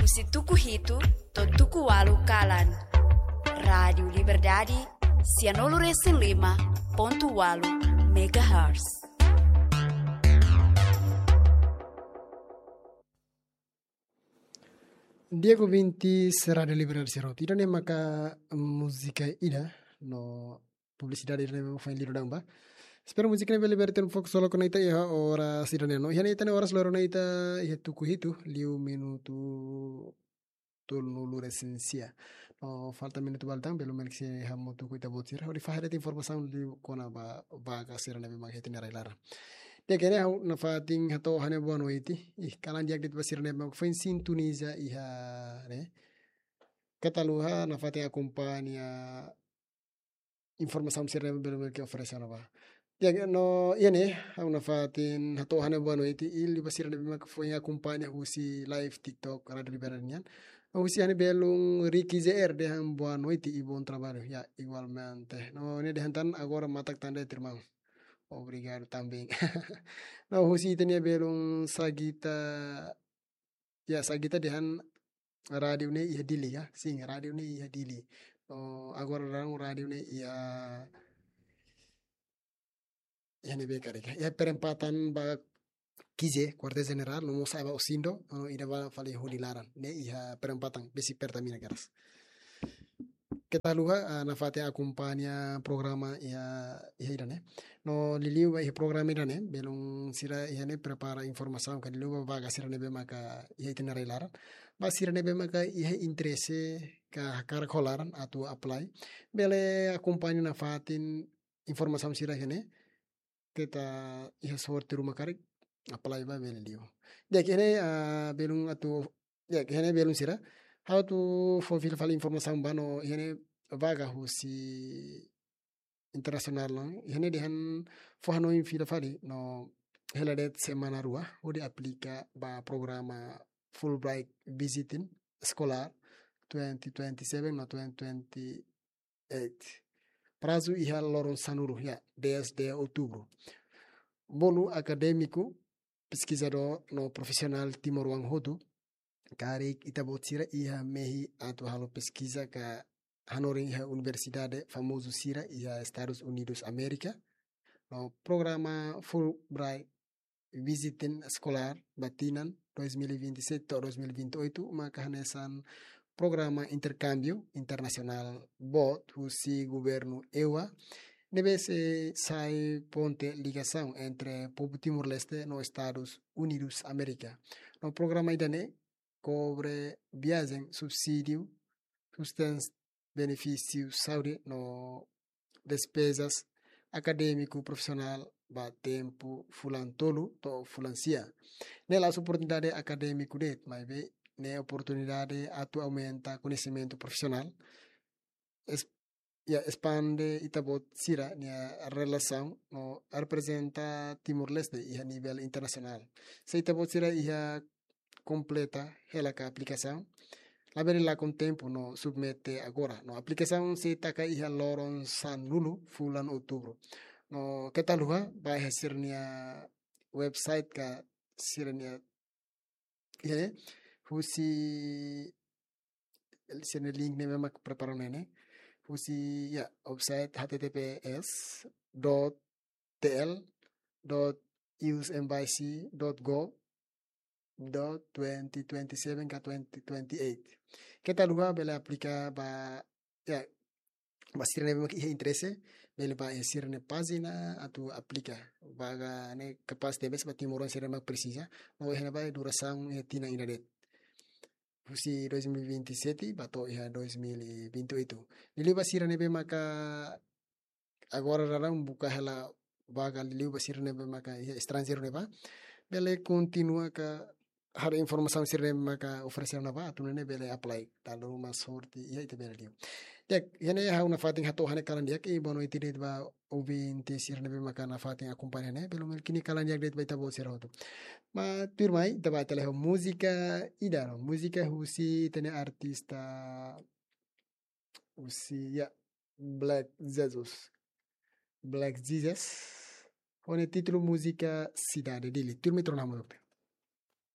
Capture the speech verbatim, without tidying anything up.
Husi tuku hitu to'o tuku ualu kalan. Rádiu Liberdade, sianulu resin lima pontu ualu megahertz. Di'ak ouvinte Rádiu Liberdade sira hotu. Ida-ne'e maka múzika ida no publisidade ida-ne'ebé foin liu daudaun ba. Espera múzika ne'e bele liberta um pouco solo kona ita iha oras ida-ne'e no. Iha ne'e ita-nia oras loron ne'e ita iha tuku hitu liu minutu tolunulu resin sia. No falta minutu balu tan, belun meli sei hamutuk ho ita-boot sira hodi fahe de'it informasaun liu kona-ba vaga sira ne'ebé mak iha ita-nia rai-laran. Di'ak, ne'e ha'u nafatin hato'o ha'u-nia boa noite. Ih, kalan di'ak de'it ba sira ne'ebé mak foin sintoniza iha ne'e. Keta haluha nafatin akompaña informasaun sira ne'ebé belun meli oferese ona ba. Di'ak, no iha ne'e ha'u nafatin hato'o ha'u-nia boa noite liu ba sira ne'ebé mak foin akompaña husi live TikTok Rádiu Liberdade nian. No husi ha'u-nia belun Ricky J R dehan boa noite e bom trabalho. Ya, igualmente. No ne'e dehan tan agora matak tan de'it, irmão. Obrigado também. No husi ita-nia belun Sagita, ya, Sagita dehan rádiu ne'e iha Dili, ya. Sin, rádiu ne'e iha Dili. Oh, agora daudaun rádiu ne'e iha, iha ne'ebé karik. Iha perempatan ba Kize, Kuartél Jenerál, no mós sa'e ba Osindo, no ida ba fali hodi laran. Ne'e iha perempatan, besik Pertamina kedas. Keta haluha, ah, nafatin akompaña programa iha, iha ida-ne'e. No liuliu ba iha programa ida-ne'e, belun sira iha ne'e prepara informasaun ka liuliu ba vaga sira ne'ebé maka iha ita-nia rai-laran. Ba sira ne'ebé maka iha interese ka hakarak ho laran atu apply, bele akompaña nafatin informasaun sira iha ne'e. Keta iha sorte ruma karik, apply ba bele liu. Di'ak, iha ne'e, ah, belun atu, di'ak, iha ne'e belun sira. Ha'u atu fó fila fali informasaun ba no iha ne'e vaga husi internasionál nian. Iha ne'e dehan fó hanoin fila fali no hela de'it semana rua hodi aplika ba programa Fulbright Visiting Scholar twenty twenty-seven no twenty twenty-eight. Prazu iha loron sanulu, ya, dez de outubro. Bolu akadémiku, peskizadór no profisionál timoroan hotu, karik ita-boot sira iha mehi atu halo peskiza ka hanorin iha universidade famozu sira iha Estadus Unidus Amérika. No programa Fulbright Visiting Scholar ba tinan dois mil e vinte e sete to'o dois mil e vinte e oito maka hanesan programa interkámbiu internasionál boot husi governu EUA, ne'ebé sei sai ponte ligasaun entre povu Timor-Leste no Estadus Unidus Amérika. No programa ida-ne'e kobre viajen, subsídiu, sustens, benefísiu saúde no despezas akadémiku profisionál ba tempu fulan tolu to'o fulan sia. Ne'e la'ós oportunidade akadémiku de'it, maibé ne'e oportunidade atu aumenta koñesimentu profisionál, es-, ya, espande ita-boot sira-nia relasaun no reprezenta Timor-Leste iha nivel internasionál. Se ita-boot sira iha kompleta hela ka aplikasaun, labele lakon tempu no submete agora. No aplikasaun sei taka iha loron sanulu fulan outubru. No keta haluha ba iha sira-nia website ka sira-nia, ya, husi sira-nia link ne'ebé mak prepara ne'e. Husi, ya, website H T T P S dot T L dot U S embassy dot gov dot twenty twenty-seven ka twenty twenty-eight. Keta haluha bele aplika ba, ya, ba sira ne'ebé mak iha interese, bele ba iha sira-nia pájina atu aplika. Vaga ne'e kapás tebes ba timoroan sira mak presiza, no iha ne'ebá durasaun iha tinan ida de'it. Husi dois mil e vinte e sete ba to'o iha dois mil e vinte e oito. Liuliu ba sira ne'ebé maka agora daudaun buka hela vaga, liuliu ba sira ne'ebé maka iha estranjeiru ne'ebá, bele kontinua ka haree informasaun sira ne'ebé maka oferese ona ba, atu nune'e bele apply. Dala ruma sorte iha ita bele liu. Di'ak, iha ne'e ha'u nafatin hato'o ha'u-nia kalan di'ak, i boa noite de'it ba ouvinte sira ne'ebé maka nafatin akompaña ne'e, belun meli kini kalan di'ak de'it ba ita-boot sira hotu. Maibé tuirmai ita bá tele ho múzika ida, no múzika husi ita-nia artista husi, ya, Black Jesus. Black Jesus. Ho nia títulu múzika Sidade Dili. Tuirmai ita rona hamutuk.